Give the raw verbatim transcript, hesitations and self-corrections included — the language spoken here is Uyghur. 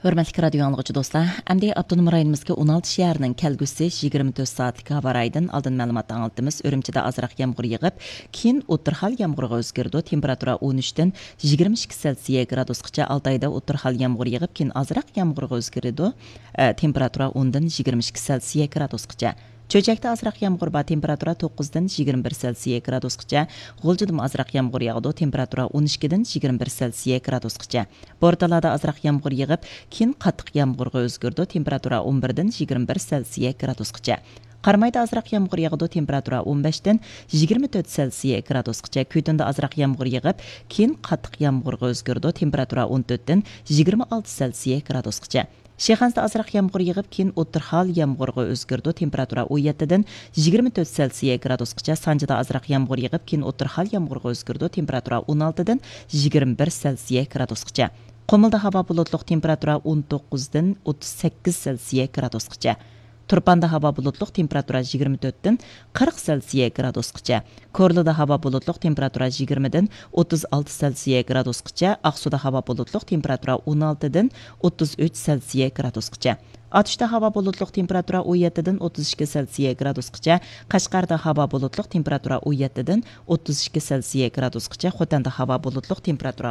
ھۆرمەتلىك رادىيو ئاڭلىغۇچى دوستلار، ئەمدى ئاپتونوم رايونىمىزدىكى ئون ئالتە شەھەرنىڭ كەلگۈسى يىگىرمە تۆت سائەتلىك ھاۋا رايىدىن ئالدىن مەلۇمات ئاڭلىتىمىز. ئۈرۈمچىدە ئازراق يامغۇر يېغىپ، كېيىن ئوتتۇرا ھال يامغۇرغا ئۆزگىرىدۇ. تېمپېراتۇرا ئون ئۈچتىن يىگىرمە ئىككى سېلسىيە گرادۇسقىچە. ئالتايدا ئوتتۇرا ھال يامغۇر يېغىپ، كېيىن ئازراق يامغۇرغا ئۆزگىرىدۇ. ئە، تېمپېراتۇرا ئوندىن يىگىرمە ئىككى سېلسىيە گرادۇسقىچە. چۆچەكتە ئازراق يامغۇر بار، تېمپېراتۇرا توققۇزدىن يىگىرمە بىر سېلسىيە گرادۇسقىچە. غۇلجىدىمۇ ئازراق يامغۇر ياغىدۇ، تېمپېراتۇرا ئون ئىككىدىن يىگىرمە بىر سېلسىيە گرادۇسقىچە. بورتالادا ئازراق يامغۇر يېغىپ، كېيىن قاتتىق يامغۇرغا ئۆزگىرىدۇ، تېمپېراتۇرا ئون بىردىن يىگىرمە بىر سېلسىيە گرادۇسقىچە. قارامايدا ئازراق يامغۇر ياغىدۇ، تېمپېراتۇرا ئون بەشتىن يىگىرمە تۆت سېلسىيە گرادۇسقىچە. كۈيتۈندە ئازراق يامغۇر يېغىپ، كېيىن قاتتىق يامغۇرغا ئۆزگىرىدۇ، تېمپېراتۇرا ئون تۆتتىن يىگىرمە ئالتە سېلسىيە گرادۇسقىچە. شىخەنزىدە ئازراق يامغۇر يېغىپ، كېيىن ئوتتۇرا ھال يامغۇرغا ئۆزگىرىدۇ، تېمپېراتۇرا ئون يەتتىدىن يىگىرمە تۆت سېلسىيە گرادۇسقىچە. سانجىدا ئازراق يامغۇر يېغىپ، كېيىن ئوتتۇرا ھال يامغۇرغا ئۆزگىرىدۇ، تېمپېراتۇرا ئون ئالتىدىن يىگىرمە بىر سېلسىيە گرادۇسقىچە. قۇمۇلدا ھاۋا بۇلۇتلۇق، تېمپېراتۇرا ئون توققۇزدىن ئوتتۇز سەككىز سېلسىيە گرادۇسقىچە. تۇرپاندا ھاۋا بۇلۇتلۇق، تېمپېراتۇرا يىگىرمە تۆتتىن قىرىق سېلسىيە گرادۇسقىچە. كورلىدا ھاۋا بۇلۇتلۇق، تېمپېراتۇرا يىگىرمىدىن ئوتتۇز ئالتە سېلسىيە گرادۇسقىچە. ئاقسۇدا ھاۋا بۇلۇتلۇق، تېمپېراتۇرا ئون ئالتىدىن ئوتتۇز ئۈچ سېلسىيە گرادۇسقىچە. ئاتۇشتا ھاۋا بۇلۇتلۇق، تېمپېراتۇرا ئون يەتتىدىن ئوتتۇز ئىككى سېلسىيە گرادۇسقىچە. قەشقەردە ھاۋا بۇلۇتلۇق، تېمپېراتۇرا ئون يەتتىدىن ئوتتۇز ئىككى سېلسىيە گرادۇسقىچە. خوتەندە ھاۋا بۇلۇتلۇق، تېمپېراتۇرا